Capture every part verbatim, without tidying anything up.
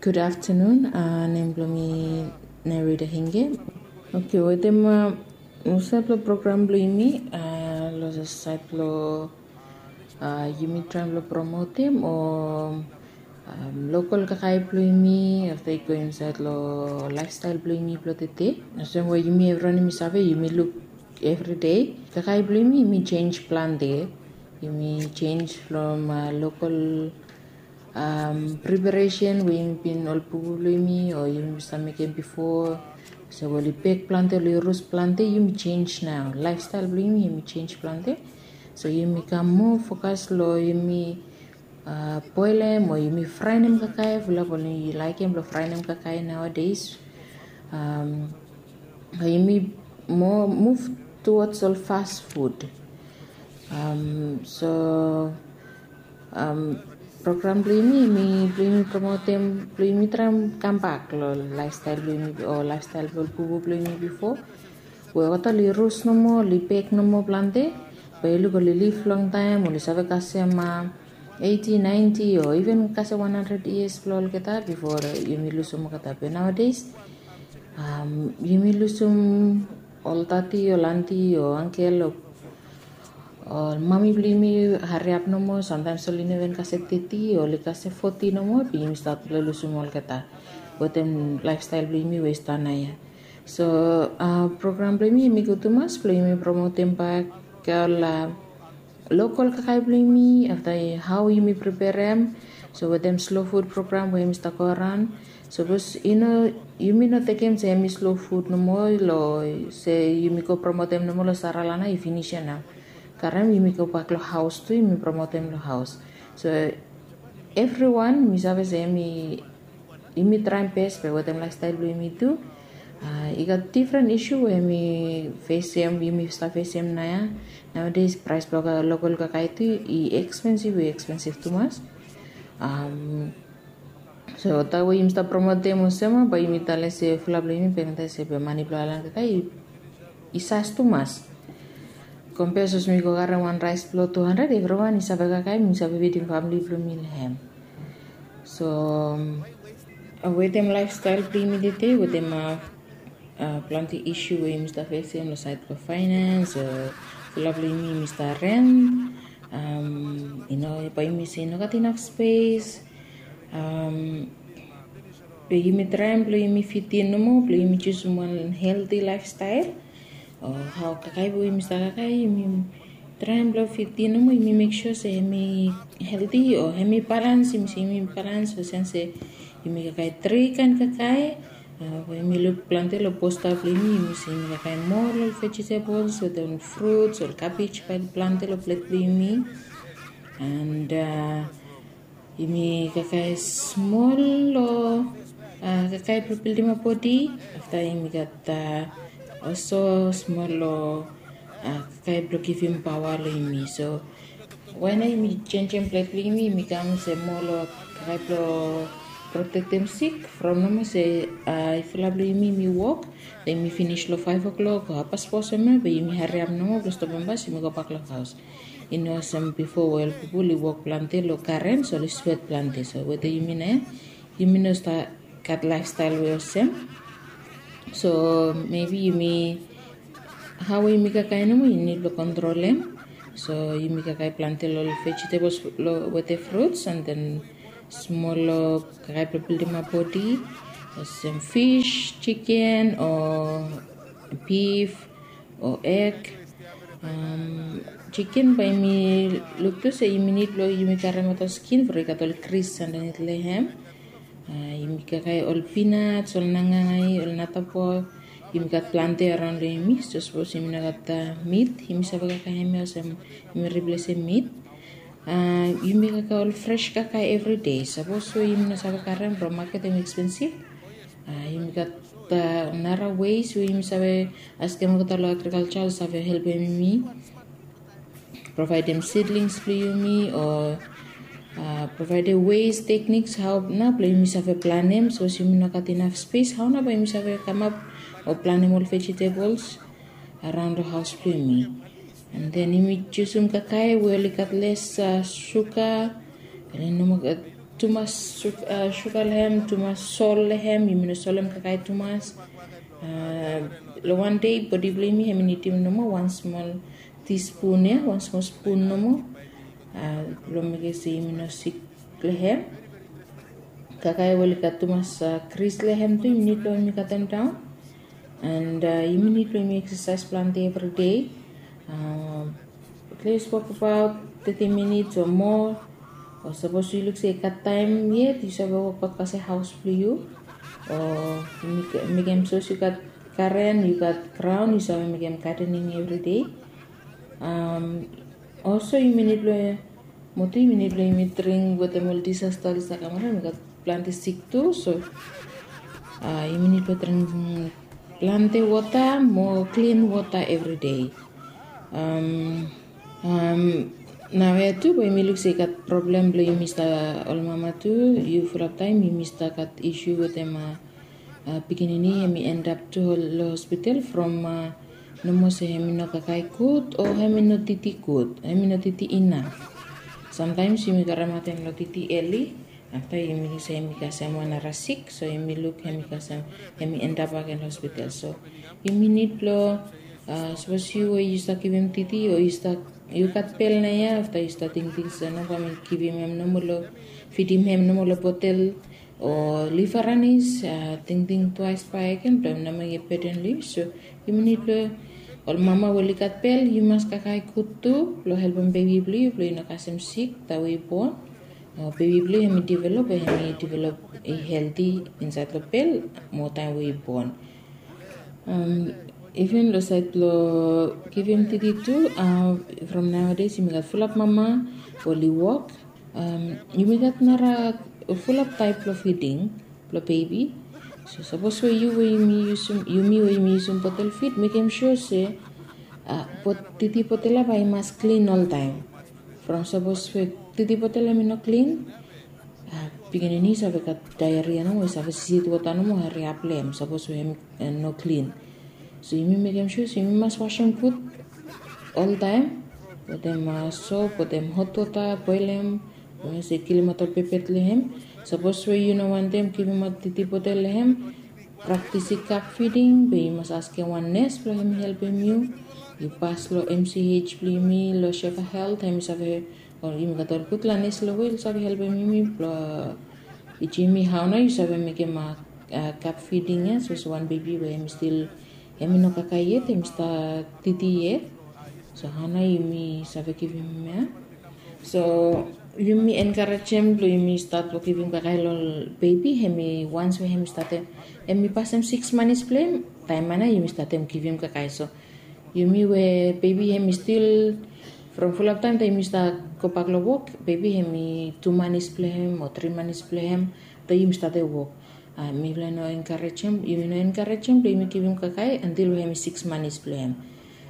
Good afternoon. Uh, nem blong mi Nerida Hinge. Okay, wetem uh, sait blong program blong yumi, uh, lo sait blong uh, yumi traem blong promotem o um, lokal kakae blong yumi, afta i go insait lo lifestyle blong yumi blong tete. Olsem we yumi evriwan yumi save, yumi luk everyday kakae blong yumi, yumi change plante. Yumi change from uh, lokal um, preparation we yumi bin ol pupu blong yumi o yumi bin stap mekem bifo. So we oli bek plante, oli ros plante, yumi change nao. Lifestyle blong yumi, yumi change plante. So yumi kam moa fokas lo yumi uh, boelem o yumi fraenem kakae. Fulap oli laekem lo fraenem kakae nowadays. Um, yumi moa move towards ol fast food. Um, so um, program blong yumi, yumi blong yumi promotem, blong yumi traem kambak lo lifestyle blong yumi o lifestyle blong pupu blong yumi bifo. We olgeta oli ros nomo, oli bek nomo plante, be yu luk oli liv longtaem, oli save kasem uh, eighty, ninety o even kasem one hundred years blong olgeta bifo yumi lusum olgeta. Be nowadays um, yumi lusum ol tati, ol anti o angkel o ol mami blong yumi hariap nomo, samtaems oli no even kasem teti o oli kasem foti nomo, be yumi stat blong lusum olgeta wetem lifestyle blong yumi we i stap naoia. So uh, program blong yumi, yumi gud tumas blong yumi promotem bak ol uh, lokal kakae blong yumi, afta hao yumi preperem. So wetem slow food program we yumi stap go araon, sapos yu no, yumi no tekem se hemi slow food nomo, lo se yumi go promotem nomo lo Saralana, i finis ia nao. Karem yumi gobak lo haos tu, yumi promotem lo haos. So evriwan mi save se hemi yumi traem bes be wetem lifestyle blong yumi tu. Uh, i gat difren isu we yumi fesem, yumi stap fesem naoia. Nowadays praes blong lokal kakae tu i expensive, i expensive tumas. Um, so taem we yumi stap promotem olsem, bae yumi talem se fulap blong yumi be mani blong aelan kakae i sas tumas. Kompea sapos mi go karem wan raes blong two hundred, evriwan i save kakae, mi save fidim famili blong mi lo hem. So wetem lifestyle blong yumi tete, wetem uh, uh, plante isu we yumi stap fesem lo sait blong finance o fulap blong yumi, yumi stap rent. Um, yu no, bae yumi se i no gat inaf spes. Um, be yumi traem blong yumi fitim nomo, blong yumi jusum wan healthy lifestyle. O hao kakae we yumi stap kakae, yumi traem blong fitim nomo, yumi mek sua se hemi healthy o hemi balans, yumi se hemi balans olsem se yumi kakae tri kaen kakae. Uh, we yumi luk plante lo posta blong yumi, yumi se yumi kakae moa ol vegetables wetem fruits, ol cabbage bae plante lo plet blong yumi. And uh, yumi kakae smol lo uh, kakae blong bildimap bodi. Afta yumi gat uh, olso smol lo uh, kakae blong givim paoa lo yumi. So wae nao yumi jenjem plet blong yumi, yumi kam se moa lo kakae blong protektem sik. From nomo se uh, fulap blong yumi, yumi wok, then yumi finis lo five o'clock o happas fo olsem ia, be yumi hariap nomo blong stopem bas, yumi gobak lo haos. I no olsem bifo we ol pipol i wok plante lo karen, so oli swet plante. So wetem yumi nao ia, yumi no stap gat lifestyle we olsem. So maybe yumi, hao we yumi kakae nomo, yumi nid blong kontrolem. So yumi kakae plante lo ol vegetables lo wetem fruits, and then smol lo kakae blong bildimap bodi, olsem fish, chicken o beef o egg. Um, chicken bae yumi luk tu se yumi nid blong yumi karemaot ol skin, from i gat ol gris andanit lo hem. Uh, yumi kakae ol peanuts, ol nangangai, ol natapo. Yumi gat plante araon lo yumi. So sapos yumi no gat uh, meat, yumi save kakae hemia olsem yumi riplesem meat. Uh, yumi kakae ol fresh kakae evri dei. Sapos we yumi no save karem from maket, hem expensive. Uh, yumi gat uh, nara ways we yumi save askem olgeta lo agriculture oli save helpem yumi, provaedem seedlings blong yumi o uh, provaedem ways, techniques hao nao blong yumi save planem. Sapos yumi no gat inaf spes, hao nao bae yumi save kamap o planem ol vegetables araon lo haos blong yumi. And then yumi jusum kakae we oli gat les uh, suga, oli no moa gat tumas suga long hem, tumas sol long hem, yumi no solem kakae tumas. Long wan dei bodi blong yumi hem i nidim nomo wan smol tispun ya, wan smol spun nomo, blong mekem se yumi no sik long hem. Kakae we oli gat tumas gris long hem tu yumi nid blong yumi katem daon. And yumi nid blong yumi eksasaes plante evridei. At least wok abaot teti minits o moa. O sapos yu luk se i gat taem yet, yu save wokbaot kasem haos blong yu. O mekem sapos yu gat garen, yu gat graon, yu save mekem gadening evridei. Olso yumi nid blong, mo tu yumi nid blong yumi dring wetem ol disasta oli stap kam araon, yumi gat plante sik tu. So yumi nid blong dring plante wota mo klin wota evridei. Naoia tu bae yumi luk se i gat problem blong yumi stap, ol mama tu, yu fulap taem yumi stap gat isu wetem pikinini hem i endap tu long hospital from nomo se hem i no kakae gud o hem i no titi gud, hem i no titi inaf. Samtaems yumi karematem long titi eli. Afta yumi luk se hem i kasem wan nara sik, so yumi luk hem i kasem, hem i endap agen long hospital. So yumi nid blong, sapos yu we yu stap givim titi o yu stap, yu gat bel naoia, afta yu stap tingting se no, bae mi givim hem nomo long, fidim hem nomo long botel o liv aranis, tingting twaes bakegen blong hem no mekem beden long yu. So yumi nid blong, ol mama we oli gat bel, yu mas kakae gud tu blong helpem bebi blong yu blong i no kasem sik taem we i bon. Bebi blong yu hem i develop, hem i develop i helti insaed long bel mo taem we i bon. Even long saed blong givim titi tu, from naoades yumi gat fulap mama we oli wok. Yumi gat nara fulap taep blong fiding blong bebi. So sapos we yu we yumi yusum, yumi we yumi yusum botel fid, mekem sua se titi botel ya bae i mas klin oltaem. From sapos we titi botel hem i no klin, pikinini i save gat daeria nomo, i save sisit wota nomo, hariap long hem sapos we hem no klin. So yumi mekem sua se yumi mas wasem gud oltaem wetem sop, wetem hot wota, boelem, we se kilimaot ol pepet long hem. Sapos we yu no wantem givimaot titi botel long hem, praktis i kap fiding, be yu mas askem wan nes blong hem i helpem yu. Yu pas long M C H blong yumi long Shefa Health, hem i save, o yumi gat ol gudfala nes long we oli save helpem yumi blong tijim yumi hao nao yu save mekem kap fiding ya, sapos wan bebi we hem i stil, hem i no kakae yet, hem i stap titi yet. So hao nao yumi save givim hem ya. So yumi enkarejem blong yumi stat blong givim kakae long bebi, hem i, wans we hem i statem, hem i pasem siks manis blong hem, taem ya nao yumi statem givim kakae. So yumi we bebi hem i stil, from fulap taem taem yumi stap gobak long wok, bebi hem i tu manis blong hem o tri manis blong hem, taem yumi statem wok. Mifala no enkarejem, yumi no enkarejem blong yumi givim kakae antil we hem i siks manis blong hem.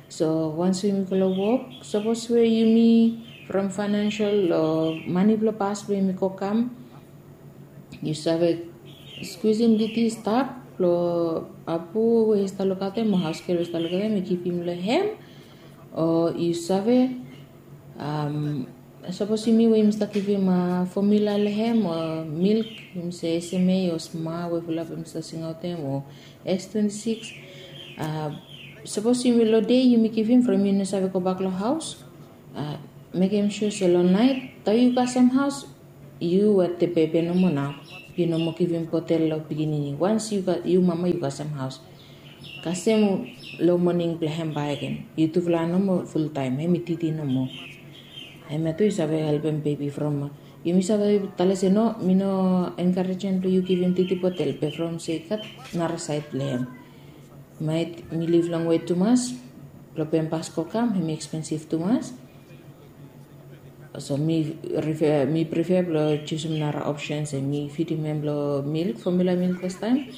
So wans we yumi go long wok, sapos we yumi, from faenansel o mane blong pas blong yumi go kam, yu save skwisim titi stap long apu we i stap lukaotem o haosgel we i stap lukaotem i givim long hem. O yu save, sapos yumi we yumi stap givim fomula long hem o milk, yumi se S M A o sma we fulap yumi stap singaotem, o S twenty six. Sapos yumi long dei yumi givim, from yu no save gobak long haos, mekem sua se long naet taem yu kasem haos, yu wetem bebi nomo nao. Yu no moa givim botel long pikinini wans yu mama yu kasem haos. Kasem long moning blong hem bakegen, yutufala nomo fultaem, hem i titi nomo. Hemia tu i save helpem bebi from, yumi save talem se no, mi no enkarejem blong yu givim titi botel, be from se i gat nara saed blong hem. Maet mi liv longwe tumas, blong pempas go kam hem i ekspensif tumas. So mi prefer blong jusum nara opsen se mi fidim hem long milk, fomula milk fastaem.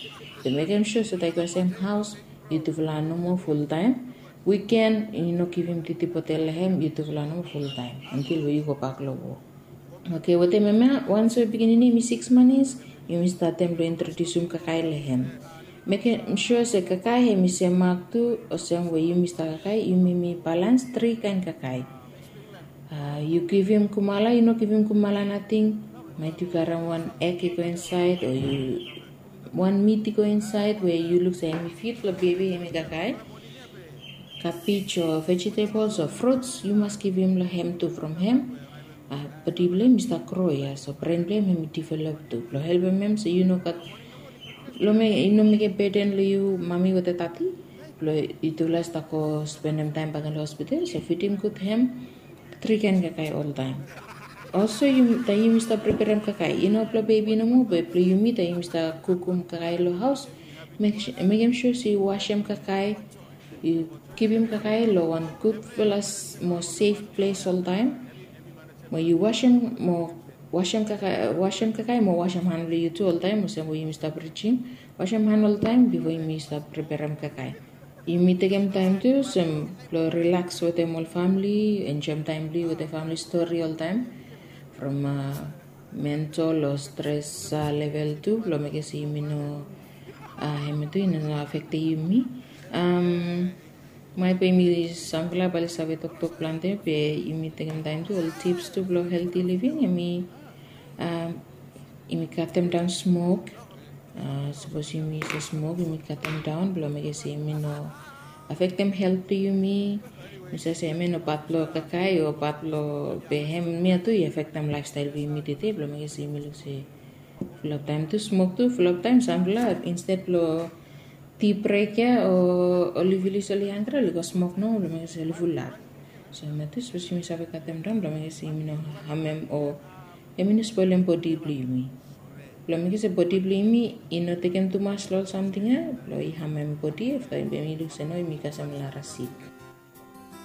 Be mekem sua se taem i kasem haos, yutufala nomo fultaem. Wiken yu no givim titi botel long hem, yutufala nomo fultaem antil we yu gobak long wok. Oke, wetem hemia, wans we pikinini hem i siks manis, yumi statem blong introdiusim kakae long hem. Mekem sua se kakae hem i semak tu, olsem we yumi stap kakae, yumi balans tri kaen kakae. Yu givim kumala, yu no givim kumala nating, Maet yu karem wan eg i go insaed o yu wan mit i go insaed we yu luk se hem i fit blong bebi hem i kakae. Kabej o vejetables o fruts yu mas givim long hem tu from hem. Bodi blong hem i stap gro ya so bren blong hem hem i develop tu blong helpem hem se yu no gat long me i no mekem beden long yu mami wetem dadi. Blong yutufala i stap go spendem taem bakegen long hospital so fidim gud hem. Tri kaen kakae oltaem. Olso taem yumi stap preperem kakae i no blong bebi nomo be blong yumi taem yumi stap kukum kakae long haos. Mekem sua se yu wasem kakae, yu kipim kakae long wan gudfala mo sef ples oltaem. Mo yu wasem mo wasem kakae mo wasem han blong yu tu oltaem olsem we yumi stap rijim. Wasem han oltaem bifo yumi stap preperem kakae. Yumi tekem taem tu olsem blong rilaks wetem ol famili, enjoem taem blong yu wetem famili stori oltaem. From mental o stres level tu blong mekem se yumi no hem tu i no afektem yumi. Maet be yumi samfala bae oli save toktok plante be yumi tekem taem tu ol tips tu blong helti living hem i yumi katem daon smok. Sapos yumi save smok yumi katem daon blong mekem se yumi no afektem helt blong yumi. Mi save se hem i no pat blong kakae o pat blong be hem mia tu i afektem laefstael blong yumi tede blong mekem se yumi luk se fulap taem tu smok tu fulap taem samfala insted blong ti brek ya o oli vilis oli hanggri oli go smok nomo blong mekem se oli fulap. So hem ya tu sapos yumi save katem daon blong mekem se yumi no hamem o hem i no spolem bodi blong yumi. Blong mekem se bodi blong yumi i no tekem tumas long ol samting ya blong i hamem bodi afta yumi luk se no yumi kasem lara sik.